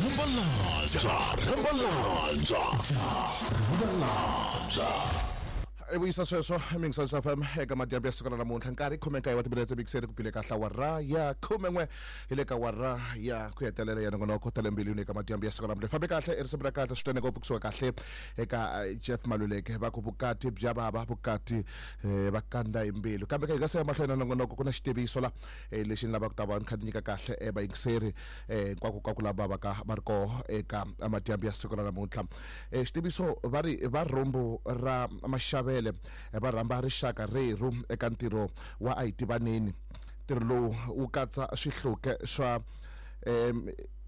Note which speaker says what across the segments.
Speaker 1: Rambalandza. Rambalandza.
Speaker 2: I vuyisa sweswo mingisonisa FM eka madyambu ya siku ra namuntlha nkarhi 19 wa timinetse mikiseni ku bile kahle awara ya 11 hi le ka awara ya ku hetelela ya nongonoko ta le mbilwini eka madyambu ya siku ra namuntlha fambe kahle i risimu ra kahle swinene ngopfu kusuka kahle eka Jeff Maluleke va ku vukati bya vava vukati va kanda hi mbilu kambe ka hi nga se ya mahlweni na nongonoko ku na xitiviso la lexi ni lavaka ku ta va ni kha ni nyika kahle vayingiseri hinkwako ka ku lava va ka va ri koho eka madyambu ya siku ra namuntlha. Xitiviso va ri va rhumbu ra Maxavele va rhamba rixaka rerhu eka ntirho wa a hi tivaneni. Ntirho lowu wu katsa swihluke swa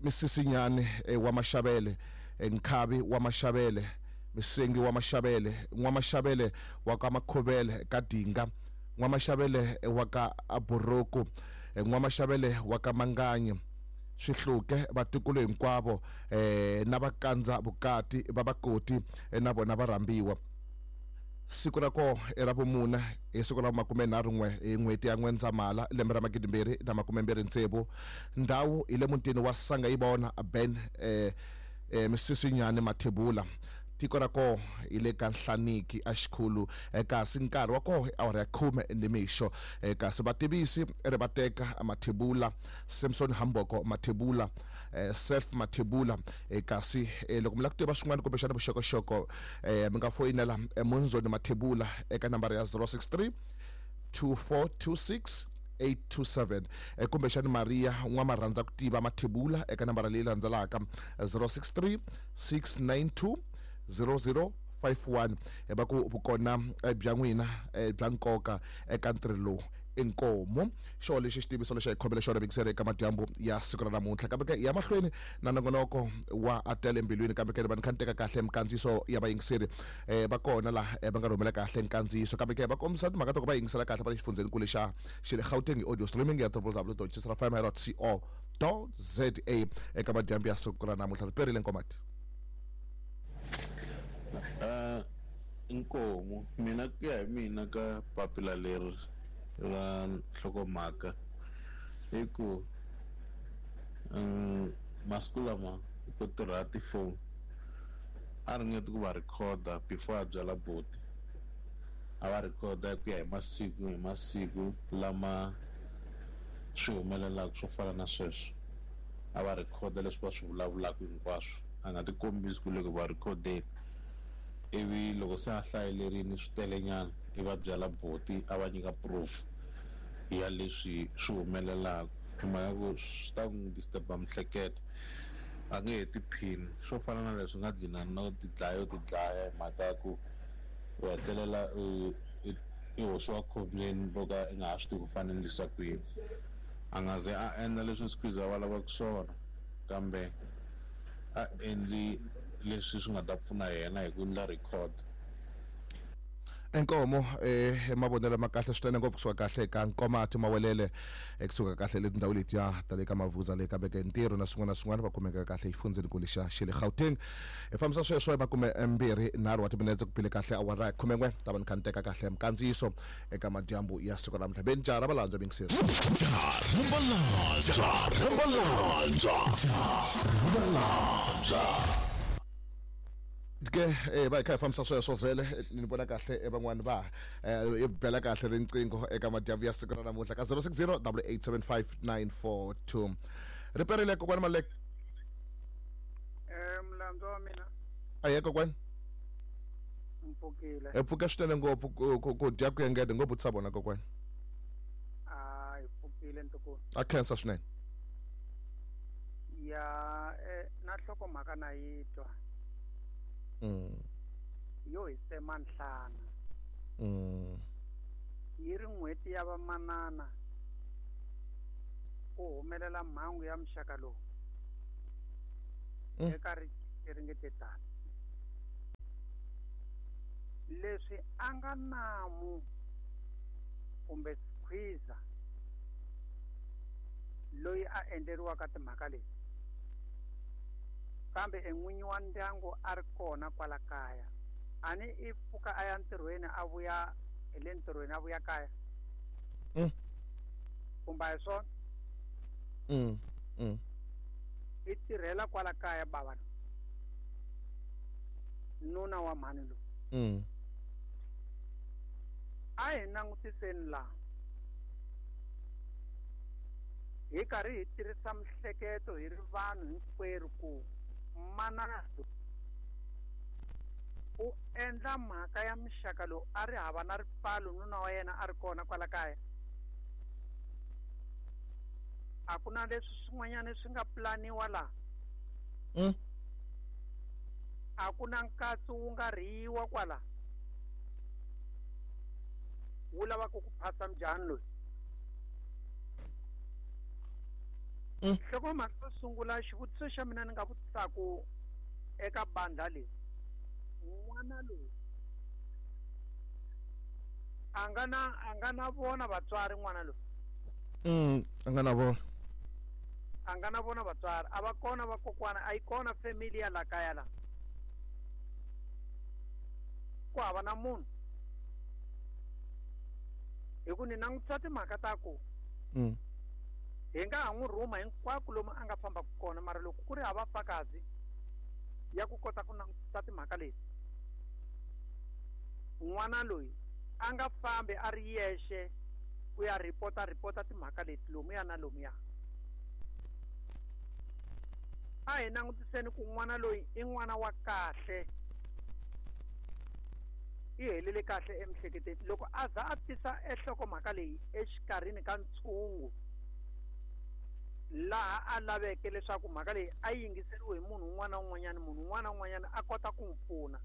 Speaker 2: Misisinyani wa Maxavele, Nkhavi wa Maxavele, Misengi wa Maxavele, N'wa-Maxavele wa ka Makhuvele ka Dinga, N'wa-Maxavele wa ka Buruku, N'wa-Maxavele wa ka Manganyi, Swihluke, vatukulu hinkwavo na vakandza vukati va Vakoti na vona va rhambiwa. Siku ra kona i ra vumune, hi siku ra vumakumenharhu-n'we hi n'hweti ya N'wendzamhala, lembe ra 2026. Ndhawu hi le mutini wa Sangayibona, Ben Misisinyani Mathebula. Tiko ra koho hi le ka Nhlaniki exikhulu, kasi nkarhi wa koho i awara ya khume nimixo. Kasi vativisi i Rivateka Mathebula, Samson Hamboko Mathebula, Self Mathebula. Kasi loko mi lava ku tiva swin'wana kumbexana vuxokoxoko mi nga foyinela Munzoni Mathebula eka nambara ya 063 2426 827 kumbexana Maria N'wamarhandza ku tiva Mathebula eka nambara leyi landzelaka 063 692 0051. Va ku vukona bya n'wina bya nkoka eka ntirho lowu. Inkomu. Xo lexi xitiviso lexi a hi khomele xona vingiseri eka madyambu ya siku ra namuntlha. Kambe ke hi ya mahlweni na nongonoko wa a tele mbilwini, kambe ke ni va ni kha ni teka kahle minkandziyiso ya vayingiseri va kona laha va nga rhumela kahle nkandziyiso, kambe ke va kombisa timhaka ta ku va yingisela kahle va le xifundzhenikulu xa xa le Gauteng hi audio streaming ya www.jisrafm.co.za eka madyambu ya siku ra namuntlha. Ri perile Nkomati.
Speaker 3: Inkomu. Mina ku ya hi mina ka papila leri ra nhlokomhaka i ku masiku lama ku tirha tifoni a ringeti ku va rhikhoda before a byela buti a va rhikhoda ku ya hi masiku hi masiku lama swi humelelaka swo fana na sweswo a va rhikhoda leswi va swi vulavulaka hinkwaswo a nga tikombisi ku le ku va rhikhodeni ivi loko se a hlayelerini swi telenyana i va byela buti a va nyika proof ya leswi swi humelelaka hi mhaka ku swi ta n'wi disturb-a miehleketo a nge he tiphini swo fana na leswi nga dlina no tidlaya yo tidlaya hi mhaka ya ku u hetelela i hoxiwa khombyeni ro ka i nga ha swi tivi ku fanele endlisa ku yini a nga ze a endla leswi Squeeze a va lavaka swona kambe a endli leswi swi nga ta pfuna yena hi ku endla record.
Speaker 2: Inkomo mavonelo ma kahle swinene ngopfu kusuka kahle eka Nkomati Mawelele kusuka kahle le tindhawu letiya ta le ka Mavuza le kambe ke ntirho na swin'wana na swin'wana va kumeka kahle exifundzhenikulu xa xa le Gauteng. Hi fambisa sweswo hi 23 wa timinetse ku bile kahle awara ya 11 ta va ni kha ni teka kahle minkandziyiso eka madyambu ya siku ra namuntlha. Beni jaha ra valandzwa mingiseri.
Speaker 1: Rambalandza. Rambalandza. Rambalandza.
Speaker 2: Ke va hi kha hi fambisa sweswo vhele ni vona kahle van'wani va i bela kahle riqingho eka madyambu ya siku ra namuntlha ka 060 8875942. Ri perile kokwani Maluleke.
Speaker 4: Mulandzu wa mina.
Speaker 2: Ahee kokwani.
Speaker 4: Mpfukile.
Speaker 2: Hi pfuke swinene ngopfu ku dya ku engete ngopfu tsa vona kokwani.
Speaker 4: A hi pfukile ntukulu.
Speaker 2: A khensa swinene.
Speaker 4: Ya na nhlokomhaka na yi twa. Yo hi tsema nhlana. Yi ri n'hweti ya vamanana ku humelela mhangu ya muxaka lowu eka ri nge te tani. Leswi a nga namu kumbe skhwiza loyi a endleriwaka timhaka leti, kambe en'winyi wa ndyangu a ri kona kwala kaya, a ni i pfuka a ya ntirhweni a vuya hi le ntirhweni a vuya kaya? Kumbe a hi swona? I tirhela kwala kaya bava loyi, nuna wa mhani loyi. A hi langutiseni laha hi karhi hi tirhisa mihleketo hi ri vanhu hinkwerhu ku manana u endla mhaka ya muxaka lowu a ri hava na ripfalo, nuna wa yena a ri kona kwala kaya. A ku na leswi swin'wanyana swi nga pulaniwa laha. A ku na nkatso wu nga rhiyiwa kwala wu lavaka ku phasa mujahani loyi. Nhlokomhaka yo sungula, xivutiso xa mina ni nga vutisaku eka bandla leyi, n'wana loyi a nga na vona vatswari? N'wana loyi
Speaker 2: a nga na vona,
Speaker 4: a nga na vona vatswari, a va kona vakokwana, a yi kona family ya la kaya la, ku hava na munhu. Hi ku ni langutisa timhaka ta ku hi nga ha n'wi rhuma hinkwako lomu a nga fambaka kona, mara loko ku ri hava fakazi ya ku kota ku langutisa timhaka leti, n'wana loyi a nga fambi a ri yexe ku ya ripota timhaka leti lomuya na lomuya. A hi langutiseni ku n'wana loyi i n'wana wa kahle, i helele kahle emiehleketweni. Loko a za a tisa enhlokomhaka leyi exikarhini ka ntshungu laha a laveke leswaku mhaka leyi a yingiseriwe hi munhu un'wana na un'wanyana, munhu un'wana na un'wanyana a kota ku n'wi pfuna.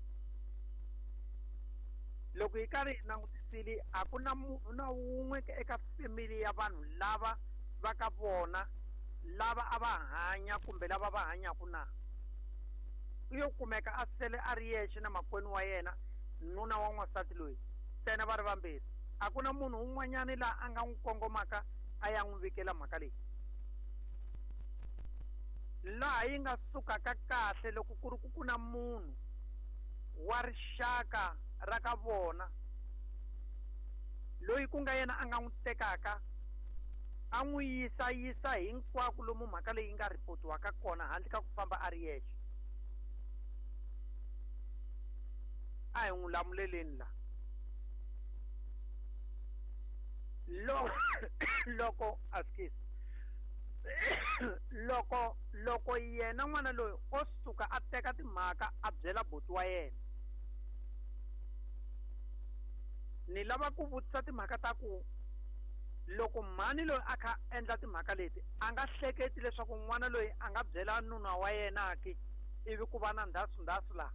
Speaker 4: Loko hi karhi hi langutisile, a ku na munhu na wun'we eka family ya vanhu lava va ka vona lava a va hanya kumbe lava va hanyaka na u yo kumeka a sele a ri yexe na makwenu wa yena, nuna wa n'wansati loyi, ntsena va ri vambirhi. A ku na munhu un'wanyana laha a nga n'wi kongomaka a ya n'wi vikela mhaka leyi, laha yi nga sukaka kahle loko ku ri ku na munhu wa rixaka ra ka vona loyi ku nga yena a nga n'wi tekaka a n'wi yisa hinkwako lomu mhaka leyi nga ripotiwaka kona handle ka ku famba a ri yexe. A hi n'wi lamuleleni la. Loko askies loko yena n'wana loyi o suka a teka timhaka a byela buti wa yena, ni lava ku vutisa timhaka ta ku loko mhani loyi a kha endla timhaka leti a nga hleketi leswaku n'wana loyi a nga byela nuna wa yena ki ivi ku va na ndhasu laha.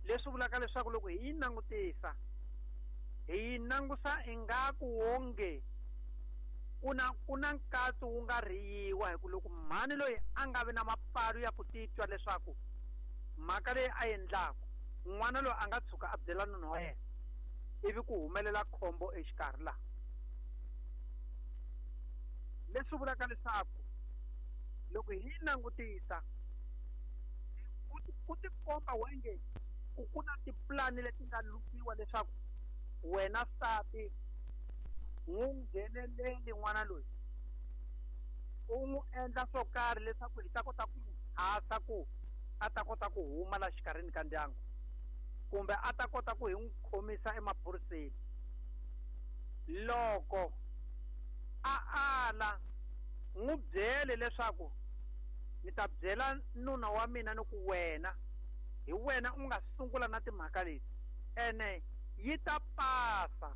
Speaker 4: Leswi vulaka leswaku loko hi yi langutisa, hi yi langusa ingaku wonge ku na nkatso wu nga rhiyiwa, hi ku loko mhani loyi a nga vi na mapfalo ya ku titwa leswaku mhaka leyi a endlaka n'wana loyi a nga tshuka a byela nuna wa yena ivi ku humelela khombo exikarhi laha. Leswi vulaka leswaku loko hi langutisa ku tikomba wenge ku na tipulani leti nga lukiwa leswaku wena nsati n'wi ngheneleli n'wana loyi, u n'wi endla swo karhi leswaku hi ta kota ku n'wi phasa ku a ta kota ku huma la xikarhini ka ndyangu, kumbe a ta kota ku hi n'wi khomisa emaphoriseni. Loko a ala, n'wi byele leswaku ni ta byela nuna wa mina ni ku wena hi wena u nga sungula na timhaka leti, ene yi ta pasa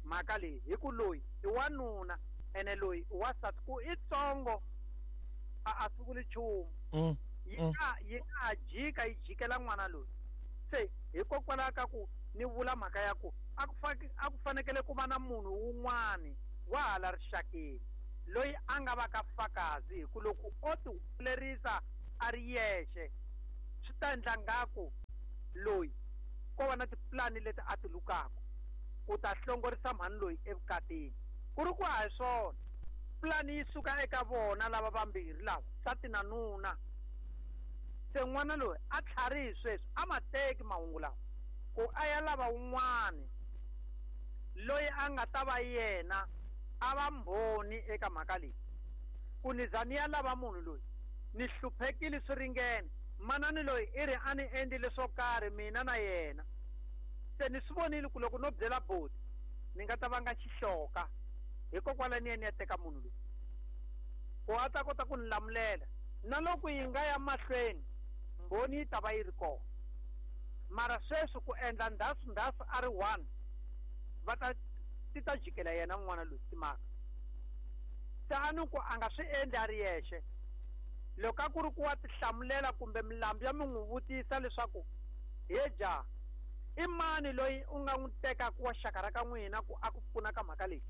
Speaker 4: mhaka leyi hi ku loyi i wanuna ene loyi i wansati, ku i tsongo a swi vuli nchumu. Yi nga jika yi jikela n'wana loyi. Se hikokwalaho ka ku ni vula mhaka ya ku a ku fanekele ku va na munhu wun'wani wa hala rixakeni loyi a nga va ka fakazi, hi ku loko o ti humelerisa a ri yexe swi ta endla ngaku loyi ko va na tipulani leti a ti lukaka ku ta hlongorisa mhani loyi evukatini. Ku ri ku a hi swona, pulani yi suka eka vona lava vambirhi lava, nsati na nuna. Se n'wana loyi a tlharihi sweswi, a ma teki mahungu lawa ku a ya lava wun'wani loyi a nga ta va yena a va mbhoni eka mhaka leyi, Ku ni za ni ya lava munhu loyi ni hluphekile swi ringene manani loyi i ri a ni endlile swo karhi mina na yena se ni swi vonile ku loko no byela boti ni nga ta vanga xihloka hikokwalaho ni ya ni ya teka munhu loyi ku a ta kota ku ni lamulela na loko yi nga ya mahlweni mbhoni yi ta va yi ri kona mara sweswi ku endla ndhasu ndhasu a ri one va ta ti ta jikela yena n'wana loyi timhaka se a ni ku a nga swi endli a ri yexe loko a ku ri ku wa tihlamulela kumbe milambu ya mi n'wi vutisa leswaku he jaha i mani loyi u nga n'wi tekaka wa xaka ra ka n'wina ku a ku pfuna ka mhaka leyi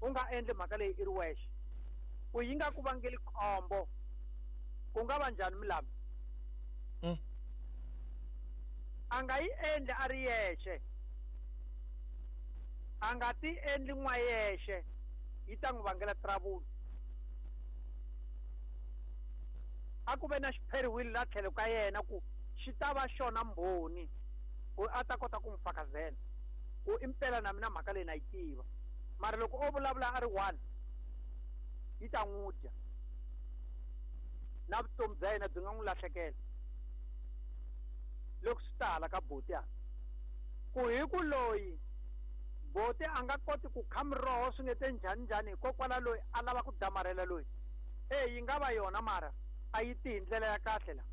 Speaker 4: u nga endli mhaka leyi i ri wexe ku yi nga ku vangeli khombo ku nga va njhani milambu a nga yi endli a ri yexe a nga ti endli n'wa yexe yi ta n'wi vangela trouble a ku ve na xipheriwile la tlhelo ka yena ku xi ta va xona mbhoni ku a ta kota ku n'wi fakazela ku impela na mina mhaka leyi na yi tiva mara loko o vulavula a ri one yi ta n'wi dya na vutomi bya yena byi nga n'wi lahlekela loko swi ta hala ka boti hala ku hi ku loyi boti a nga koti ku kha miroho swi nge te njhani njhani hikokwalaho loyi a lava ku damarhela loyi e yi nga va yona mara a yi ti hi ndlela ya kahle la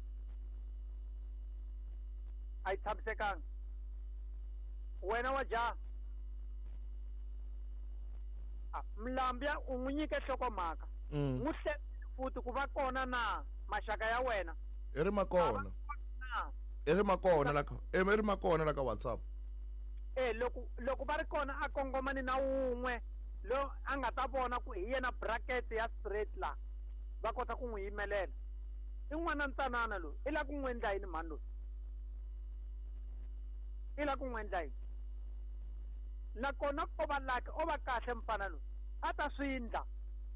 Speaker 4: a yi tshamisekanga wena wa jaha Mlambya u n'wi nyike nhlokomhaka n'wi hlekile futhi ku va kona na maxaka ya wena
Speaker 2: i ri makona i ri makona la ka i ri makona la ka WhatsApp
Speaker 4: e loko loko va ri kona a kongomani na wun'we lo a nga ta vona ku hi yena bracket ya straight la va kota ku n'wi yimelela i n'wana ntsanana loyi i la ku n'wi endla yini mhani loyi i la ku n'wi endla yini nakona ko va lucky o va kahle mfana loyi a ta swi ndla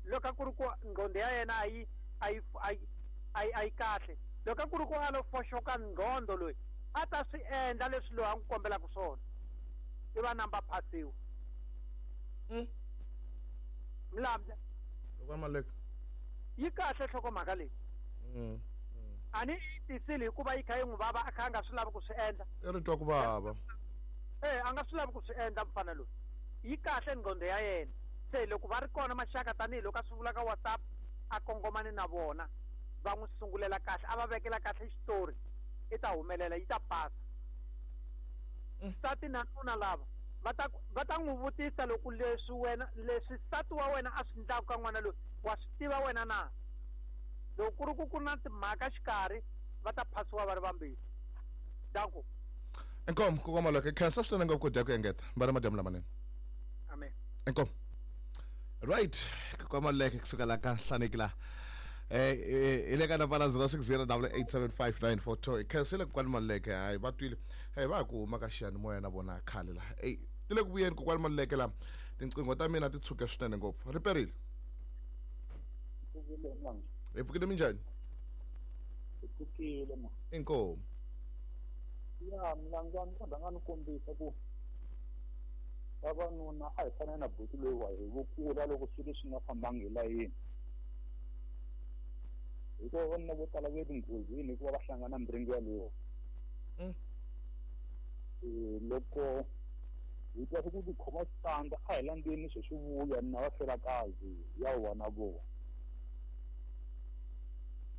Speaker 4: loko a ku ri ku nqondo ya yena a yi a yi a yi a yi a yi kahle loko a ku ri ku a lo foxoka nqondo loyi a ta swi endla leswi loyi a n'wi kombelaka swona i va namba phasiwa Mlambya
Speaker 2: loko maleka
Speaker 4: yi kahle nhlokomhaka leyi a ni yi tisile hikuva yi kha yi n'wi vava a kha a nga swi lavi ku swi endla
Speaker 2: i ri twa ku vava
Speaker 4: e a nga swi lavi ku swi endla mfana loyi yi kahle nqondo ya yena se loko va ri kona maxaka tanihiloko a swi vula ka WhatsApp a kongomani na vona va n'wi sungulela kahle a va vekela kahle xitori i ta humelela yi ta pasa nsati na nuna lava va ta va ta n'wi vutisa loko leswi wena leswi nsati wa wena a swi ndlaka ka n'wana loyi wa swi tiva wena na loko ku ri ku ku na timhaka xikarhi va ta phasiwa va ri vambirhi danko
Speaker 2: Inkomu kokoma lokho khensa swinene ngopfu ku dya ku engeta va ri madyambu lamanene
Speaker 4: amen
Speaker 2: inkomu right kokoma leke kusuka la ka hlaneki la hi le ka nambara 0608875942 hi khensile kokwani Maluleke hayi va twile hey va ha ku huma ka xiyanimoya na vona khale la ey ti le ku vuyeni kokwani Maluleke la tinqingho ta mina ti tshuke swinene ngopfu ri perile hi pfukile minjhani
Speaker 5: pfukile ma
Speaker 2: inkomu
Speaker 5: ya mina ndza ni nga ni kombisa ku vavanuna a hi fane na buti loyi wa hi vukula loko swilo swi nga fambangi hi layeni hikuva vavanuna vo tala va le tinghozini hikuva va hlangana na miringo yaleyo loko hi twa ku tikhoma switandza a hi landzeni swo swi vuya na va felakazi ya wa na vona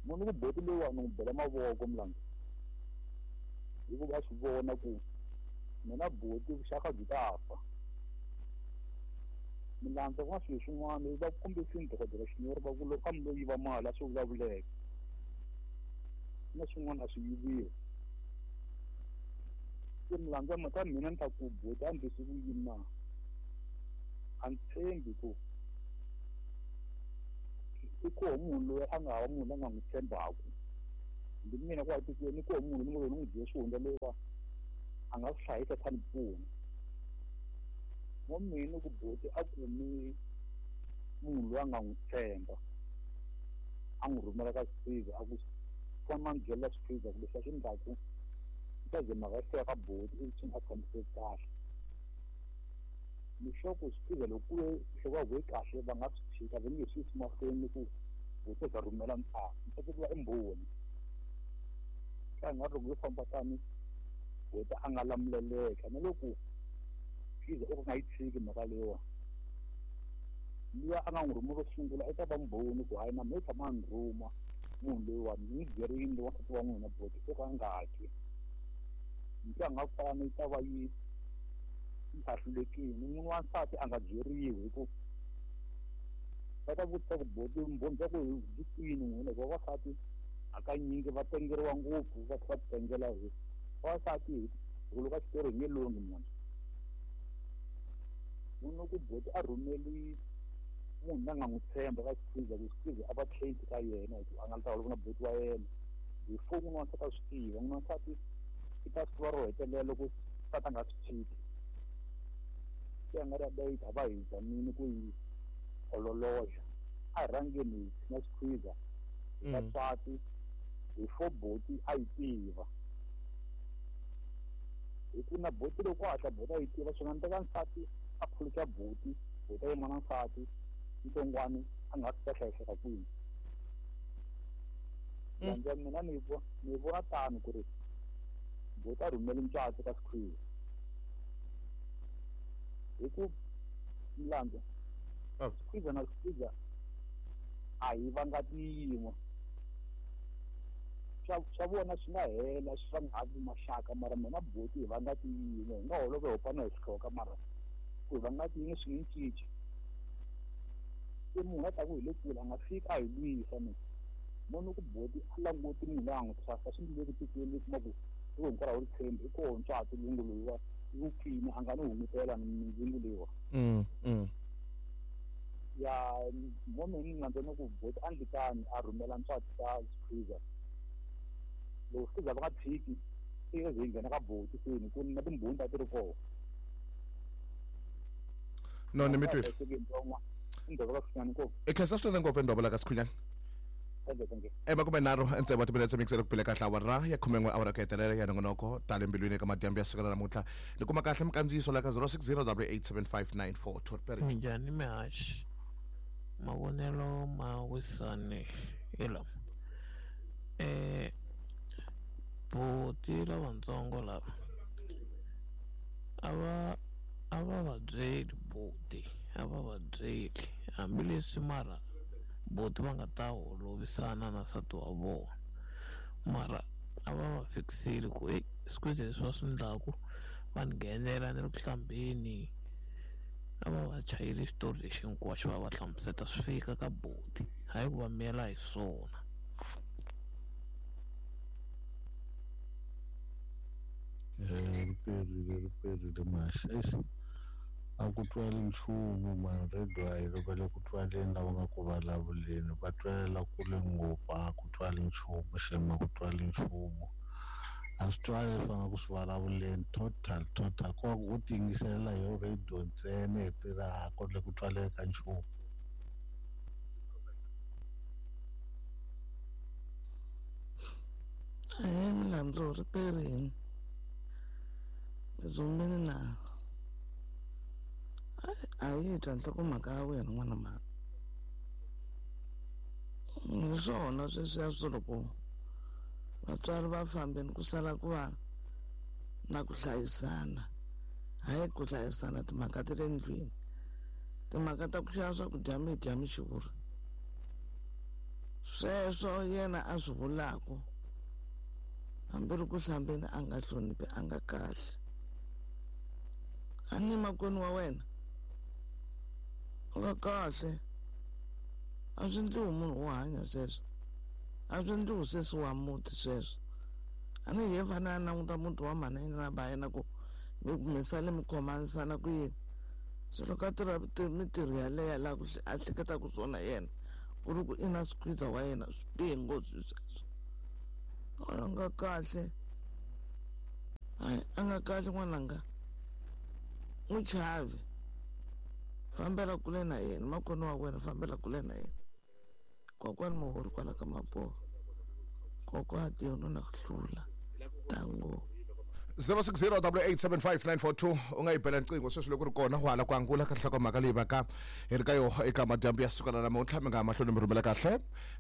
Speaker 5: munhu ku buti loyiwani n'wi bela mavoko Mlambya hikuva swi vona ku mina buti vuxaka byi ta fa Mlambya ku na swilo swin'wana va kombisini dokodela Xinyori va ku loko a mi lo yiva mali a swi vulavuleka na swin'wana a swi yiviwa se Mlambya mhaka mina ni ta ku buti a ndlisi ku yini na a ni tshembi ku i koho munhu loyi a nga hava munhu la nga n'wi tshembaku ndi mina kwala tikweni i koho munhu ni ngo ni n'wi byele swihundla loyiwa a nga swi hlayisa kha ni pfuna mo mina ku buti a kumi munhu loyi a nga n'wi tshemba a n'wi rhumela ka Swipriza a ku fana ni byela Swipriza ku leswi a swi ndlaku swi ta ze mhaka yi fika ka buti ivi swi nga tshamiseki kahle ni sure ku Swipriza loko ku ve nhloko ya huvo yi kahle va nga swi tshika va nge swi yisi mahlweni ku buti za rhumela ntsako ntsako ku va i mbhoni ka nga loko yo famba tani buti a nga lamuleleka na loko Skwiza o ka nga yi tshiki mhaka leyiwa luya a nga n'wi rhuma ro sungula i ta va mbhoni ku hayi na me tshama a ni rhuma munhu loyiwani ni n'wi byerile wansati wa n'wina buti o ka a nga twi ntwa nga kwalano yi ta va yi ahlulekile n'wini wa nsati a nga byeriwi hi ku va ta vutisa ku buti vumbhoni bya ku byi kwini n'wina hikuva vavasati hakanyingi va tengeriwa ngopfu va tlhela va titengela hi vavasati hi ku loko a xitori hi nge longhi munhu munhu ku buti a rhumeli munhu la nga n'wi tshemba ka Skwiza ku Skwiza a va trained ka yena hi ku a nga ta holova na buti wa yena before n'wini wa nsati a swi tiva n'wini wa nsati i ta swi tiva ro hetelela loko nsati a nga swi tshiki se a nga ri a yi ta va hi zamile ku yi ololoxa a hi rhangeni hi tshinya Skwiza hi vatswati before buti a yi tiva hi ku na buti loko hatla buti a yi tiva swi nga endleka nsati a phuluxa buti buti a yima na nsati ntsongwani a nga swi ta hlayiseka kwini landza mina ni ni vona tano ku ri buti a rhumeli ntswatsi ka Skwiza hi ku mlandza Skwiza na Skwiza a hi vanga tiyin'we swa vona swi nga hela swi va nga ha vi maxaka mara mina buti hi vanga tiyin'we hi nga holova hi hopana hi swihloka mara ku hi vanga tiyin'we swi nge cinci se munhu a taku hi le kule a nga fiki a hi lwisa mina munhu ku buti a languti munhu loyi a n'wi trust swi ndzi le ku tikweni u kuma ku loko hinkwaro a wu ri tshembi i koho ntswatsi lungu loyiwa wu kwini a nga ni hungutela mindzingu leyiwa ya mo mina ni landza ni ku buti a ndlitani a rhumela ntswatsi ka Skwiza loko Skwiza va nga tshiki se ze yi nghena ka buti seni ku na timbhoni ta ti ri koho
Speaker 2: no ni mi twile i khensa swinene ngopfu endwavula ka Sikhunyana emakumenharhu ntsevu wa timinetse mikisele ku bile kahle awara ya 11 awara ku hetelela ya nongonoko tale mbilwini eka madyambu ya siku ra namuntlha ni kuma kahle mikandziyiso la ka 060 87594
Speaker 6: Minjhani mihaxi mavonelo ma wisani hi lama buti lavatsongo lava a va a va va byeli buti a va va byeli hambileswi mara buti va nga ta holovisana na nsati wa vona mara a va va fikisile ku eyi Skwiza leswi va swi endlaku va ni nghenela ni ri ku hlambeni a va va chayeli xitori lexi hinkwaxo va va hlamuseta swi fika ka buti hayi ku va miyela hi swona.
Speaker 3: Ri perile masi eish a ku twali nchumu mani radio a yi va le ku twaleni lava nga ku vulavuleni va twelela kule ngopfu a ku twali nchumu xema ku twali nchumu a swi twali leswi va nga ku swi vulavuleni total total ko va ku u ti yingiselela hi radio ntsena hi tirha ku le ku twaleni ka nchumu.
Speaker 7: Ahee milandzu ri perini dzumbini na a yi twa nhlokomhaka ya wena n'wana mhani hi swona sweswiya swo loko vatswari va fambeni ku sala ku va na ku hlayisana hayi ku hlayisana timhaka ta le ndlwini timhaka ta ku xava swakudya mi dya mi xurha sweswo yena a swi vulaku hambi ri ku hlambeni a nga hloniphi a nga kahle a ni makwenu wa wena u nga kahle a swi ndliwi munhu wo hanya sweswo a swi ndliwi sweswi wa muti sweswo a ni ye fane a languta muti wa mhana yena na ba yena ku mi sale mi khomanisana ku yini se loko a tirha mintirho yaleyo laha ku a hleketaka swona yena ku ri ku i na Skwiza wa yena swi bihe ngopfu sweswo a nga kahle hayi a nga kahle n'wananga n'wi chavi fambela kule na yena makwenu wa wena fambela kule na yena kokwani muhori kwala ka maboho kokwa tiyono na ku hlula tango.
Speaker 2: 060887594 u nga yi bela nqingho sweswi loko ri kona ku hala ku angula ka nhlokomhaka leyi vaka hi ri ka yoho eka madyambu ya siku ra namuntlha mi nga ha mahlweni mi rhumela kahle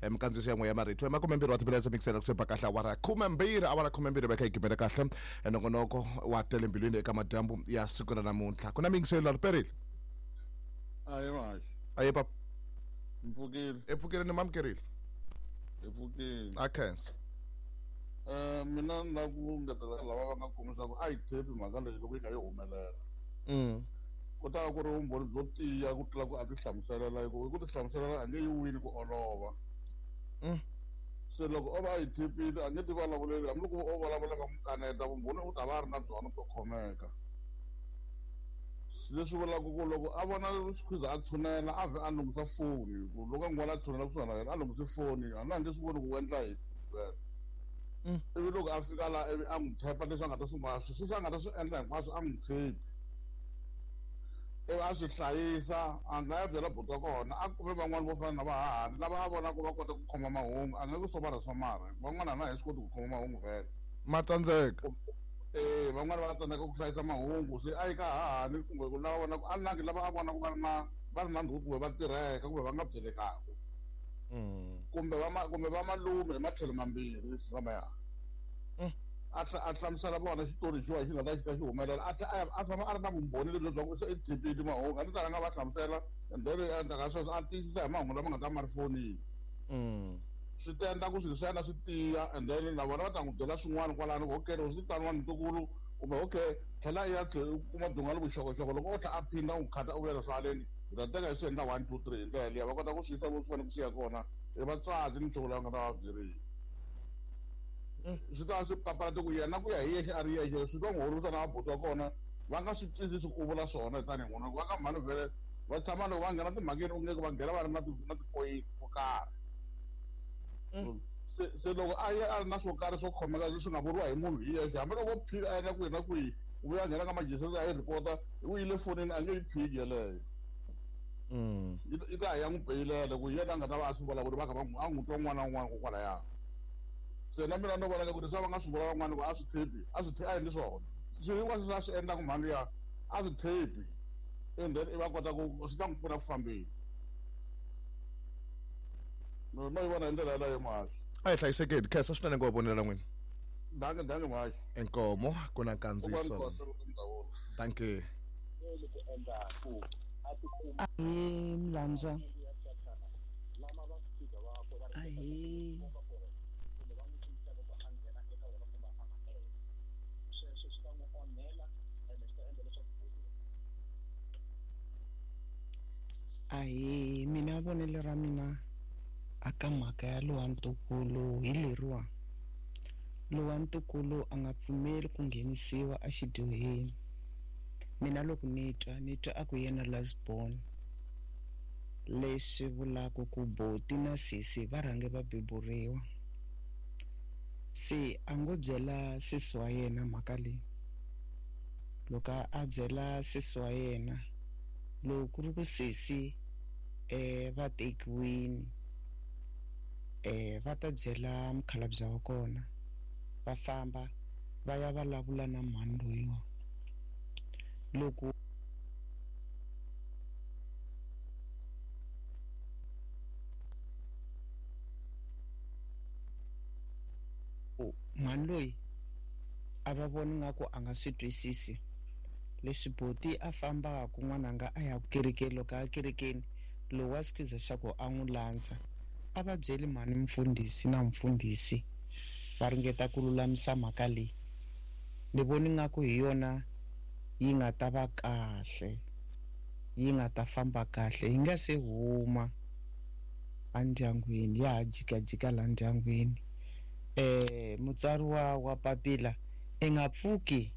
Speaker 2: minkandziyiso ya n'we ya marito i 20 wa timinetse mikisela kusuhi ba kahle awara 12, awara 12 va kha yi gimela kahle nongonoko wa tele mbilwini eka madyambu ya siku ra namuntlha. Ku na miyingiselo la riperile.
Speaker 8: Aye mashi.
Speaker 2: Aye papa.
Speaker 8: Mpfukile.
Speaker 2: Epfukile ni mamukerile.
Speaker 8: Epfukile.
Speaker 2: A khensa.
Speaker 8: Mina ni lava ku ngetela lava va nga kumisa ku a yi thepi mhaka leyi loko yi kha yi humelela. Ku ta va ku ri vumbhoni byo tiya ku tlula ku a ti hlamuselela, hi ku ti hlamuselela a nge yi wini ku olova. Se loko o va a yi thepile a nge ti vulavuleli, hambiloko o vulavula va n'wi kaneta, vumbhoni u ta va a ri na byona byo khomeka. Leswi vulaka ku loko a vona Squeezer a tshunela a vhe a lunghisa foni, ku loko a n'wi vona a tshunela kusuhana na yena a lunghise foni, hambi a nge swi voni ku u endla yini. Ivi loko a fika laha ivi a n'wi thepa leswi a nga ta swi sweswi a nga ta swi endla hinkwaswo a n'wi thepi, ivi a swi hlayisa, a nga ya byela buti wa kona, a kume van'wani vo fana na vahahani lava a vonaka va kota ku khoma mahungu, a nga ku somara somara, van'wana a na hi swi koti ku khoma mahungu vhele.
Speaker 2: Ma tsandzeka.
Speaker 8: Van'wani va tsandzeka ku hlayisa mahungu, se a yi ka hahani kumbe ku lava vonaka a langi lava a vonaka va ri na ndhuku kumbe va tirheka kumbe va nga byelekaka. Kumbe kumbe va malume hi matlhelo mambirhi lamaya. A hlamusela vona xitori xiwa xi nga ta xi ta xi humelela, a a famba a ri na vumbhoni lebyi bya ku se i thepile mahungu, a ni ta rhanga va hlamusela and then endzhaku ka sweswo a tiyisisa hi mahungu lama nga ta ma ri fonini. Swi ta endla ku swilo swa yena swi tiya, and then na vona va ta n'wi byela swin'wana kwalano ku okay, loko swi taniwa ntukulu kumbe okay tlhela i ya tlhela u kuma byin'wana vuxokoxoko, loko o tlhela a phinda u n'wi khata u vula leswi haleni hi ta teka hi swi endla 1 2 3 hi ndlela liya va kota ku swi yisa vo swi fanele ku swi ya kona i vatswatsi ni nchumu lowu nga ta va byerile. Swi ta swi papalata ku yena ku ya hi yexe a ri yexe swi ta n'wi horisa na vabuti wa kona va nga swi twisisi ku u vula swona tanihi n'wana va ka mhani vhele va tshama loko va nghena timhakeni u nge va nghena va ri na na tipoyinti to karhi. Se loko a ya a ri na swo karhi swo khomeka leswi nga vuriwa hi munhu hi yexe, hambi loko phika a yena kwihi na kwihi u vuya nghena ka majiseti a yi rhipota u yile fonini a nge yi phiki yeleyo. Yi ta ya n'wi peyilela ku yena a nga ta va a swi vulavuli va kha va a n'wi twa un'wana na un'wana kokwalaya. Se na mina no vona ku leswi va nga swi vula van'wana ku a swi thepi, a swi a endli swona swilo hinkwaswo leswi a swi endlaka mhani liya a swi thepi, and then i va kota ku swi ta n'wi pfuna ku fambeni. No yi vona hi ndlela yeleyo mhaxi.
Speaker 2: A hi hlayisekeni, khensa swinene ngo vonela n'wina.
Speaker 8: Danke, danke mhaxi.
Speaker 2: Inkomo ku na nkandziyiso. Danke.
Speaker 9: Ahee Mlandzwa. Ahee. Ahee, mina vonelo ra mina aka mhaka ya lowa ntukulu hi leriwa. Lowa ntukulu a nga pfumeli ku nghenisiwa exidyoheni. Mina loko ni twa a ku yena last born, leswi vulaka ku boti na sesi va rhange va beburiwa. Se a ngo byela sesi wa yena mhaka leyi. Loko a byela sesi wa yena, loko ku ri ku sesi va tekiwini, va ta byela mukhalabye wa kona, va famba va ya vulavula na mhani loyiwa. Loko mhani loyi a va voni nga ku a nga swi twisisi leswi boti a fambaka n'wananga a ya kerekeni, loko a kerekeni lowu wa Squeezer xa ku a n'wi landza, a va byeli mhani mfundhisi na mfundhisi va ringeta ku lulamisa mhaka leyi. Ni voni nga ku hi yona yi nga ta va kahle, yi nga ta famba kahle, yi nga se huma endyangwini, ya ha jikajika la ndyangwini. Mutswari wa papila i nga pfuki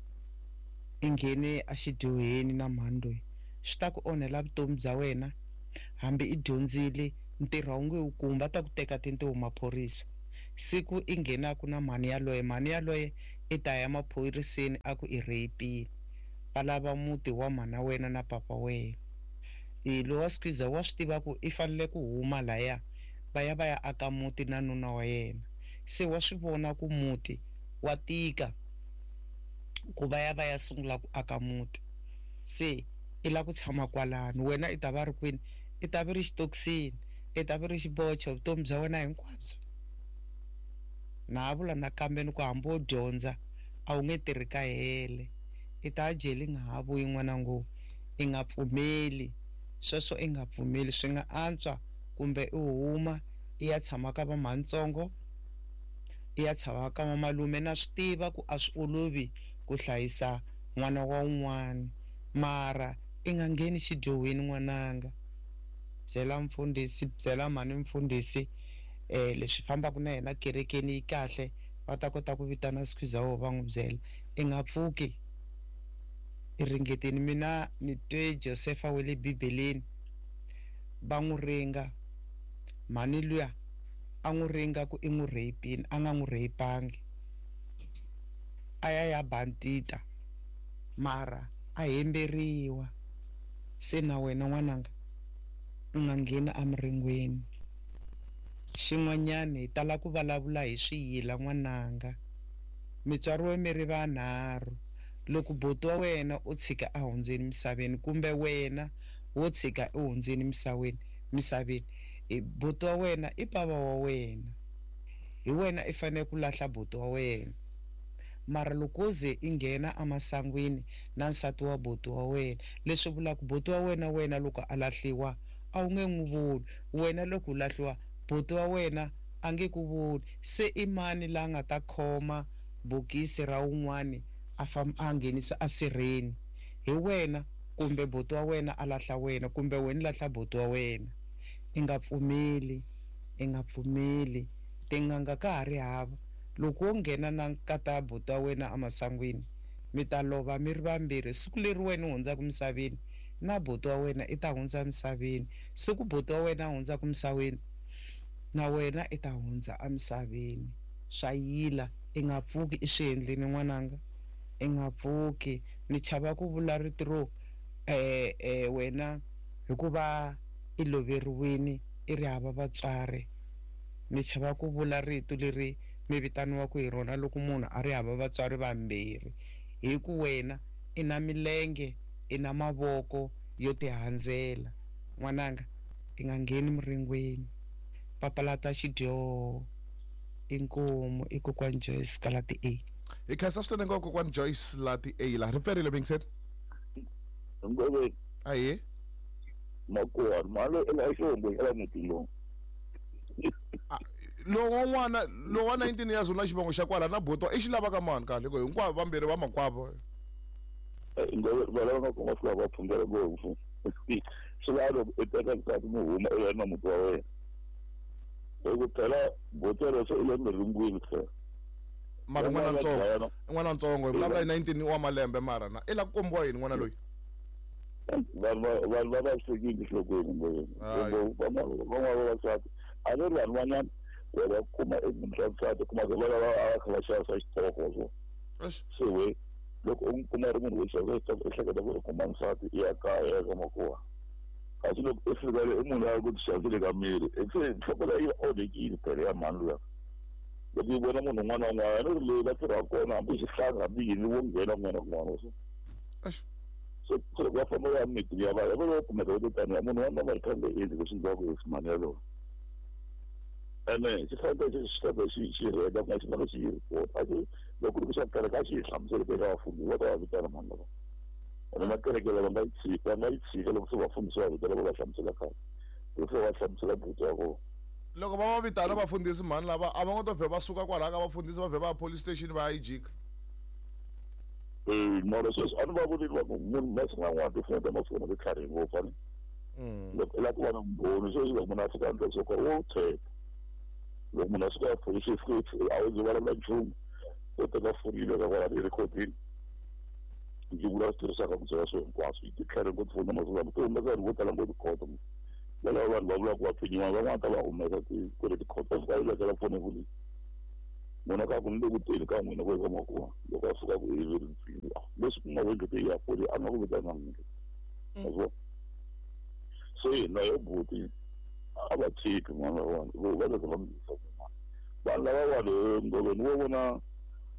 Speaker 9: i nghene exidyoheni na mhani loyi, swi ta ku onhela vutomi bya wena. Hambi i dyondzile ntirho a wu nge wu kumi, va ta ku teka tintiho maphorisa. Siku i nghenaku na mhani yaloye, mhani yaloye i ta ya maphoriseni a ku i rape-ile, va lava muti wa mhana wena na papa wena. Lowa Squeezer wa swi tiva ku i fanele ku huma laya va ya va ya aka muti na nuna wa yena. Se wa swi vona ku muti wa tika. Ku va ya va ya sungula ku aka muti. Se i la ku tshama kwalano, wena i ta va ri kwini? I ta vi ri xitokisini, i ta vi ri xibocho vutomi bya wena hinkwabyo. Na ha vula nakambe ni ku hambi wo dyondza a wu nge tirhi ka hele, i ta jele i nga ha vuyi n'wanangu. I nga pfumeli sweswo, i nga pfumeli. Swi nga antswa kumbe i huma i ya tshama ka vamhantsongo, i ya tshama ka vamalume. Na swi tiva ku a swi olovi ku hlayisa n'wana wa un'wana, mara i nga ngheni xidyohweni n'wananga. Byela mfundhisi, byela mhani mfundhisi leswi fambaka na yena kerekeni yi kahle, va ta kota ku vitana Skhwiza wo va n'wi byela. I nga pfuki i ringeteni. Mina ni twe Josefa wa le Bibeleni va n'wi ringa, mhani luya a n'wi ringa ku i n'wi rape-ini, a nga n'wi rape-angi, a ya ya bandita, mara a hemberiwa. Se na wena n'wananga u nga ngheni emiringweni. Xin'wanyana hi tala ku vulavula hi swiyila n'wananga. Mi tswariwe mi ri vanharhu. Loko buti wa wena u tshika a hundzeni misaveni, kumbe wena wo tshika u hundzeni misaveni, buti wa wena i bava wa wena, hi wena i fanele ku lahla buti wa wena. Mara loko wo ze i nghena emasangwini na nsati wa buti wa wena, leswi vulaka buti wa wena, wena loko a lahliwa a wu nge n'wi voni, wena loko u lahliwa buti wa wena a nge ku voni. Se i mani la nga ta khoma bokisi ra un'wani a famba a nghenisa esirheni? Hi wena kumbe buti wa wena a lahla wena, kumbe wena lahla buti wa wena. I nga pfumeli, i nga pfumeli. Tin'anga ka ha ri hava. Loko wo nghena na nkata buti wa wena emasangwini, mi ta lova mi ri vambirhi. Siku leri wena u hundzaka misaveni, na buti wa wena i ta hundza misaveni. Siku buti wa wena a hundzaka misaveni, na wena i ta hundza emisaveni. Swa yila, i nga pfuki i swi endleni n'wananga, i nga pfuki. Ni chava ku vula rito ro wena hikuva i loveriwini i ri hava vatswari. Ni chava ku vula rito leri mi vitaniwaka hi rona loko munhu a ri hava vatswari vambirhi, hi ku wena i na milenge, i na mavoko yo tihandzela. N'wananga, i nga ngheni miringweni, papalata xidyoho. Inkomu i kokwani Joyce ka la ti A.
Speaker 2: Hi khensa swinene ngopfu kokwani Joyce la ti A la. Ri pferile Vincent.
Speaker 5: Ngove.
Speaker 2: Aye.
Speaker 5: Makuwa malo ela xihombo xa la muti lowu.
Speaker 2: Lowa n'wana lowa 19 years u na xivongo xa kwala na buti i xi lavaka mani kahle ku hinkwavo vambirhi va makwavo.
Speaker 5: Ngove va lava nga fika va phungela ngopfu. Swi lava loko i teka nsati mi huma i ya na muti wa wena. Hi ku phela buti yaloye se i le miringwini phela.
Speaker 2: Mara n'wana ntsongo, n'wana ntsongo hi vulavula hi 19 wa malembe mara na i la ku kombiwa yini n'wana loyi?
Speaker 5: Vanhu va vavisekile enhlokweni ngopfu. Van'wana vavasati a ni ri vanhu van'wana wa va kuma emunhu wa nsati kuma ku va lava a kha va xavisa xitoko so. Se we loko u n'wi kuma ri munhu wo xavisa xitoko i hleketa ku i kuma nsati i ya kaya i ya ka makuwa. Kasi loko i fika le i munhu loyi a ku ti xavisele ka miri se nhloko leyi yi onhekile phela ya mhani luya. Loko yi vona munhu un'wana na un'wana a ni ri leyi va tirhaka kona hambi xihlanga hambi yini wo nghena kun'wana na kun'wana so. So loko va famba va ya mitini ya vanhu va va kumeka va te taniya munhu wa noma hi kha nga endli leswi endliwaka hi mhani yaloye. Ene xi fanele xi xi xi xi rheta ku nga xi fanele xi yi report. A xi loko ku ri ku xa kereke a xi yi hlamusele eka vafundhisi va ta va vitana mhani lava. Ene na kereke lava nga yi tshika, va nga yi tshika loko se vafundhisi va vitana va va hlamusela kahle. Loko se va hlamusela buti wa kona.
Speaker 2: Loko va va vitana vafundhisi mhani lava a va ngo to vhe va suka kwalaya ka vafundhisi va vhe va ya police station va ya yi jika.
Speaker 5: Mara sweswi a ni va voneli vanhu munhu masiku man'wana tifoni ta masiku ti tlharihe ngopfu a ni. Loko i lava ku va na vumbhoni sweswi loko munhu a fika a endla swo karhi wo tshemba. Loko munhu a suka a police station a wu ze vulavula nchumu u teka foni yi veka kwalano yi rhekhodini ndzi vula swi tirhisaka ku byela swilo hinkwaswo. Yi ti tlharihe ngopfu tifoni ta masiku lama ti humesa vanhu vo tala ngopfu tikhoto. Valava vanhu va vulaka ku va pfinyiwa van'wana ta va humesa kwale tikhoto va fika yi vekela foni epolisi. Munhu a ka ku ni le ku teni ka n'wina ku eka makuwa loko a suka ku i ri pfinyiwa leswi ku nga vengete ya poli a nga ku vitana n'wina. Wa se hina yo buti a va tshiki n'wana wa vona va va za va mi yisa kun'wana. Vanhu lava va le ngoveni wo vona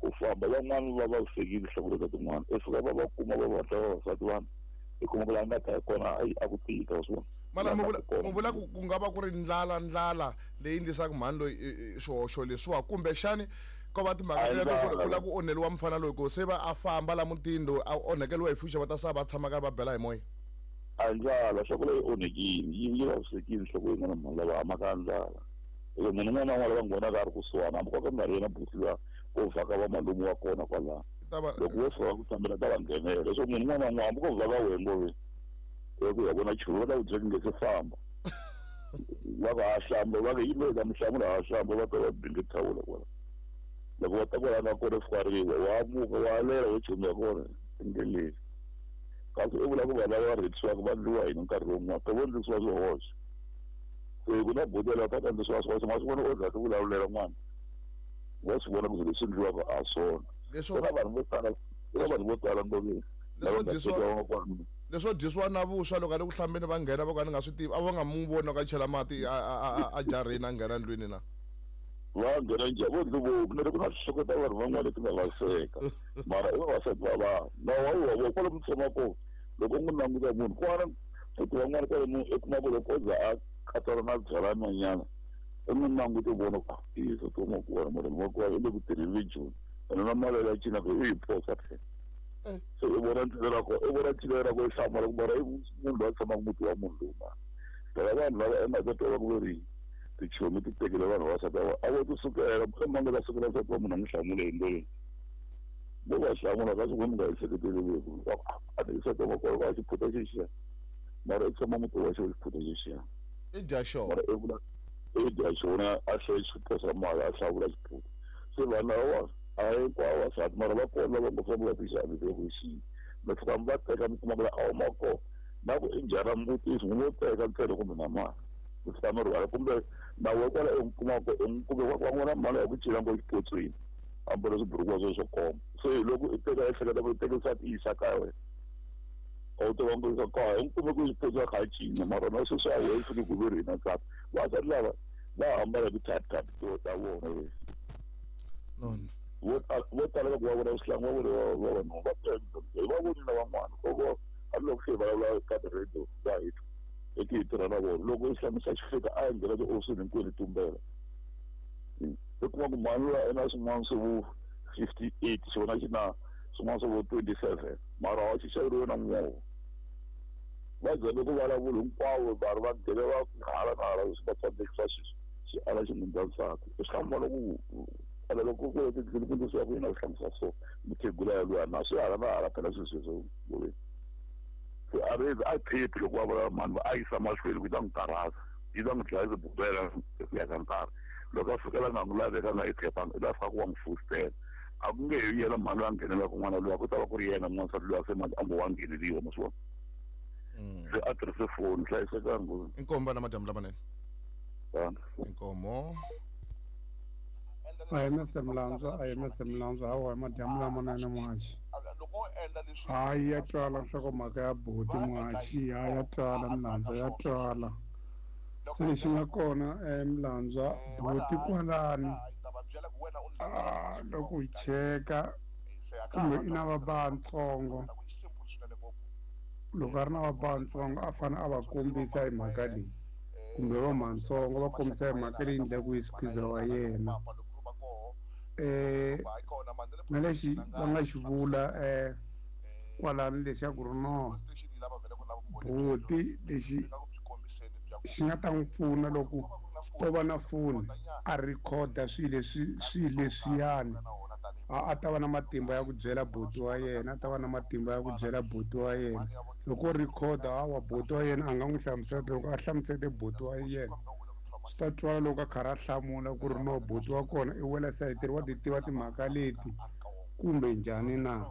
Speaker 5: Ku famba van'wani va vavisekile nhloko ta tin'wana i fika va va kuma va vatla vavasati vanhu i kuma ku laha nga ta kona a ku tika wa swi vona.
Speaker 2: Mara mi vula ku nga va ku ri ndlala leyi endlisaka mhani loyi swihoxo leswiwa, kumbexani ko va timhaka teto ku ri ku lava ku onheliwa mufana loyi ku se va a famba la mutini loyi a onhekeliwa hi future va ta sala va tshama karhi va bela hi moya.
Speaker 5: A ndlala nhloko leyi onhekile yi vavisekile nhloko yin'wana mhani lava hamaka a ndlala. Loko munhu un'wana na un'wana va n'wi vonaka a ri kusuhana hambi ko ka ku nga ri yena buti luya wo vhaka va malume wa kona kwalano. Loko wo fika ku fambela ta va nghenela leswaku munhu un'wana na un'wana hambi ko vhaka wena ngove ku ya vona chumu va ta ku byela nge se famba. Va ku ha hlamba va ku yini ta mi hlamula ha hlamba va ta va binge thawula kwala. Loko va ta kwala nga kona fika riwa wa muka wa lela wo chumu ya kona endleleni. Kasi i vula ku vanhu lava va rhekisiwaka va ndliwa yini nkarhi wun'wana to vo ndlisiwa swihoxo. Se ku na botela ta ndlisiwa swihoxo ma swi vona o za ti vulavulela n'wana. Wa swi vona ku leswi ndliwaka a swona. Kuna vanhu vo tala, kuna vanhu vo tala ngopfu.
Speaker 2: Leswo dyisiwa na vuswa loko a le ku hlambeni va nghena va ka ni nga swi tivi a va nga n'wi voni loko a chela mati a jarheni a nghena ndlwini na.
Speaker 5: Va nghena njhani vo ndzi voni ku na swihloko ta vanhu van'wana leti nga vaviseka mara i vavasati va vanhu na wa wa vo kwalomu tshama kona loko u n'wi languta munhu kwana futhi van'wana kwalomu i kuma ku loko o za a katsana na byalanyana i n'wi languta u vona ku i soti wa makuwana mara makuwana i le ku tirheni joni ene na mali ya cinaka i yi phosa phela. Se i vona ncila ra kona i vona ncila ra kona i hlamala ku mara i munhu loyi a tshamaka muti wa munhu lowu mara phela vanhu lava i nga ta twa va ku ve ri tichomi ti tekele vanhu vavasati a vo ti sukela i mani la sukela nsati wa munhu a n'wi hlamula hi ndlela vo va hlamula ka swi mi nga ehleketeleleki a ti nsati wa makwerhu va xiphuta xexiya mara i tshama muti wa xo xiphuta xexiya
Speaker 2: i dya xona
Speaker 5: mara i vula i dya xona a hlaya xiphuta xa mali a hlawula xiphuta se vanhu lava a hinkwavo vavasati mara va kona lava ngo famba va tixavise ku xi mi fika mi va teka mi kuma ku la a wu ma kona na ku i njhani mbutiso n'wi teka ntsena kumbe na mali mi fika mi rhwala kumbe na we kwala i n'wi kumaka i n'wi kumbe va n'wana mali ya ku cela ngo xipotsweni ambala swiburukuwa swo swo koma se hi loko i teka ehleketa ku i teke nsati i yisa kaya wena a wu tiva ku yisa kaya i n'wi kume ku xipotso a kha a cina mara na sweswi a wehe fike ku ve ri hina nsati vavasati lava va hambana hi ti-type type ta vona vo tala loko va vona swihlangu va vona vavanuna va va vonile van'wana loko hambiloko se hi vulavula ka ti-radio va hi twa eti hi tirha na vona loko xihlangu xa xi fika a nghena tihofisini hinkwenu tumbela i kuma ku mhani luya i na swin'wana swo vo 58 xona xi na swin'wana swo vo 27 mara wa xi xaveriwe na movha va za loko vulavula hinkwavo vanhu va nghene va hala na hala leswi va tsandzekisa sweswi xi ala xi n'wi nsati i swi hlamula ku ala loko ku tindlwini ku ndlisiwa ku yini a swi hlamusa so mukhegula ya luya na swi hala na hala phela swilo sweswo se a ri a phephi loko va vulavula mhani va a yisa mahlweni ku yi ta n'wi karhata yi ta n'wi dlaya bubela ku ya ka nkarhi loko a fikela nga n'wi laveka a nga yi phepanga i ta fika ku wa n'wi fositela a ku nge he yena mhani loyi a nghenelaka n'wana luya ku ta va ku ri yena n'wansati luya se manje a ngo wa ngheneliwa ma swi vona se a tirhise foni hlayisekanga.
Speaker 2: Inkomo na madyambu lamanene. Inkomo.
Speaker 10: Ahi Mr Mlandzwa, ahi Mr Mlandzwa, hawa madyambu lamanene muhaxi. Hayi ya twala nhlokomhaka ya buti muhaxi, ha ya twala Mlandzwa ya twala. Se lexi nga kona Mlandzwa buti kwalani loko hi cheka kumbe i na vabantsongo loko a ri na vabantsongo a fanele a va kombisa hi mhaka leyi kumbe va matsongo va kombisa hi mhaka leyi endlaku hi sikhiza wa yena na lexi va nga xi vula kwalano lexaku ri no buti lexi xi nga ta n'wi pfuna loko o va na foni a rhikhoda swilo leswi swilo leswiyani a ta va na matimba ya ku byela buti wa yena a ta va na matimba ya ku byela buti wa yena loko o rhikhoda hawa buti wa yena a nga n'wi hlamusela loko a hlamusete buti wa yena swi ta twala loko a karhi a hlamula ku ri no buti wa kona i wela sayitini wa ti tiva timhaka leti kumbe njhani na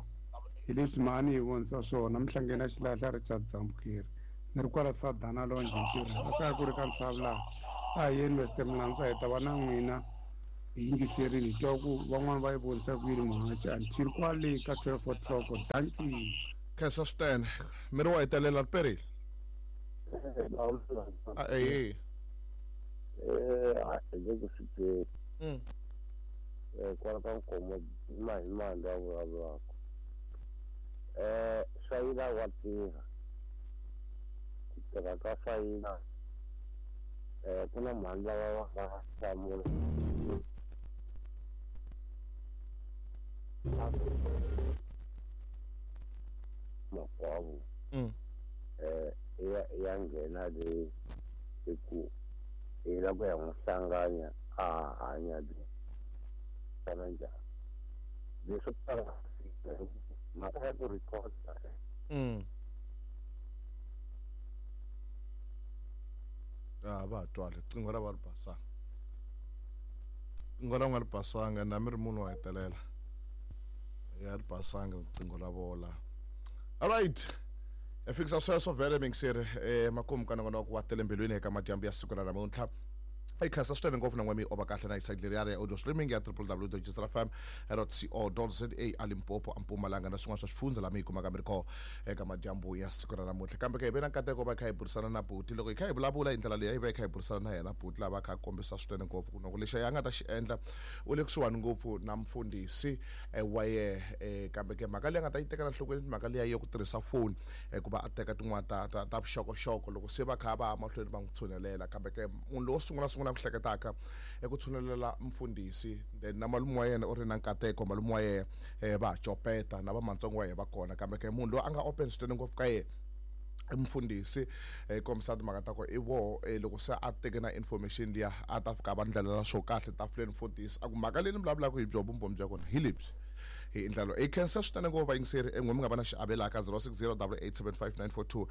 Speaker 10: hi leswi mhani hi vonisa swona mihlangeni ya xilahla Richard Dzambukeri ni ri kwala Sadana Lonje ntirho a kaya ku ri ka nsavu laha a hi yeni Mr Mlandzwa hi ta va na n'wina hi yingiserini hi twa ku van'wani va yi vonisa ku yini muhaxi until kwale ka 12 o'clock dankie.
Speaker 2: Khensa swinene miri wa hetelela ri perile ehe.
Speaker 11: Kwala ka Nkomo hi mali a vulavulaka. Swayila wa tirha. Ku tirha ka swayila ku na mhani lava va nga hlamula. Makwavo. Ya nghena le hi ku hi lava ku ya n'wi hlanganya a hanya kana njhani leswo tala mhaka ya ku rhikhoda
Speaker 2: va twale riqingho ra va ri basanga riqingho ra nga ri basanga na mi ri munhu wa hetelela ya ri basanga riqingho ra vola. All right, ya fikisa sweswo vhele mingiseri makumu ka nongonoko wa tele mbilwini eka madyambu ya siku ra namuntlha. I khensa swinene ngopfu na n'we mi ova kahle na isayidi leriya ya audio streaming ya www.jfm.co.za a Limpopo, a Mpumalanga na swin'wana swa swifundza laha mi yi kumaka mi ri kona eka madyambu ya siku ra namuntlha. Kambe ke hi ve na nkateko va kha hi burisana na buti loko hi kha hi vulavula hi ndlela leyi hi va hi kha hi burisana na yena buti lava kha a kombisa swinene ngopfu ku loko lexi a nga ta xi endla u le kusuhani ngopfu na mfundhisi wa yehe. Kambe ke mhaka leyi a nga ta yi tekela nhlokweni mhaka liya ya ku tirhisa foni ku va a teka tin'wana ta vuxokoxoko loko se va kha va ya mahlweni va n'wi tshunelela. Kambe ke munhu lowo sungula ku hleketaka eku tshunelela mfundhisi then na malume wa yena u ri na nkateko malume wa yena va ha copeta na vamatsongo wa yena va kona. Kambe ke munhu loyi a nga open swinene ngopfu ka yena mfundhisi kombisa timhaka ta ku i voho loko se a teke na information liya a ta fika va ndlelela swo kahle tafuleni mfundhisi a ku mhaka leyi ni vulavulaka hi byo vumbhoni bya kona hi lebyi hi ndlela i khensa swinene ngopfu vayingiseri en'we mi nga va na xiavelo ka 0608875942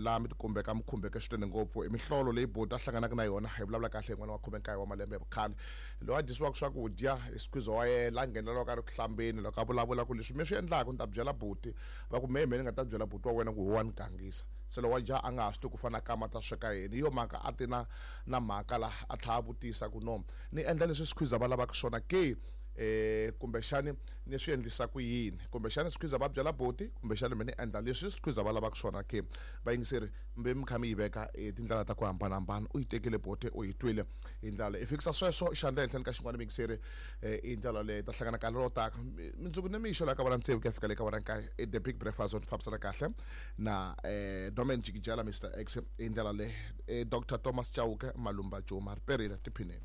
Speaker 2: laha mi tikumbeka mi khumbeke swinene ngopfu i mihlolo leyi boti a hlanganaka na yona hi vulavula kahle hi n'wana wa 19 wa malembe ya vukhale loyi a dyisiwaka swakudya hi squeeze wa yena la nghenelelaka a ri ku hlambeni loko a vulavula ku leswi mi swi endlaka ni ta byela buti va ku mehe ni nga ta byela buti wa wena ku hi wa ni gangisa se lowa ja a nga ha swi tivi ku fana kama ta sweka yini hi yo mhaka a ti na mhaka laha a tlhela a vutisa ku no ni endla leswi squeeze va lavaka swona ke kumbexani ni swi endlisa ku yini kumbexani squeeze va byela buti kumbexani mi ni endla leswi squeeze va lavaka swona ke. Vayingiseri mbe mi kha mi yi veka tindlela ta ku hambanahambana u yi tekile buti u yi twile hi ndlela leyi i fikisa sweswo xandla ehenhleni ka xin'wana miyingiseri i ndlela leyi ta hlangana nkarhi lowu taka mundzuku ni mixo laha ka vona tsevu ku ya fika le ka vona nkaye the big breakfast on fambisana kahle na Norman Jikijela Mr X hi ndlela leyi Dr Thomas Chauke Malumba Juma ri perile tiphineni.